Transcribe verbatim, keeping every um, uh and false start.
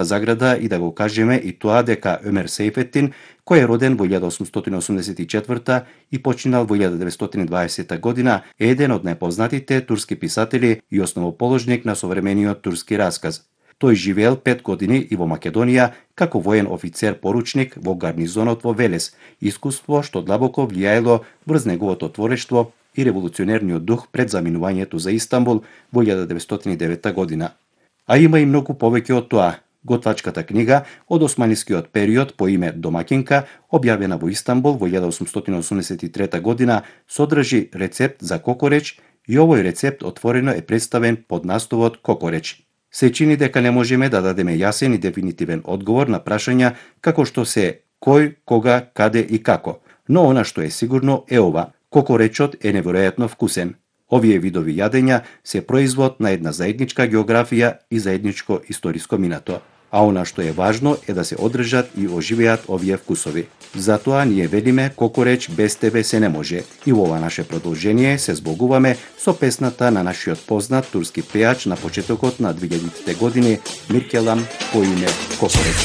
заграда и да го кажеме и тоа дека Өмер Сейфетин, кој е роден во илјада осумстотини осумдесет и четврта и починал во илјада деветстотини и дваесета година, е еден од најпознатите турски писатели и основоположник на современиот турски расказ. Тој живеел пет години и во Македонија како воен офицер-поручник во гарнизонот во Велес, искуство што длабоко влијаело врз неговото творештво и револуционерниот дух пред заминувањето за Истанбул во илјада деветстотини и девета година. А има и многу повеќе од тоа. Готвачката книга од османискиот период по име Домакинка, објавена во Истанбул во илјада осумстотини осумдесет и трета година, содржи рецепт за кокореч и овој рецепт отворено е представен под насловот Кокореч. Се чини дека не можеме да дадеме јасен и дефинитивен одговор на прашања како што се кој, кога, каде и како. Но она што е сигурно е ова: кокоречот е неверојатно вкусен. Овие видови јадења се производ на една заедничка географија и заедничко историско минато. А она што е важно е да се одржат и оживеат овие вкусови. Затоа ние велиме кокореч без тебе се не може. И во ова наше продолжение се збогуваме со песната на нашиот познат турски пејач на почетокот на две илјадитите години Миркелам по име Кокореч.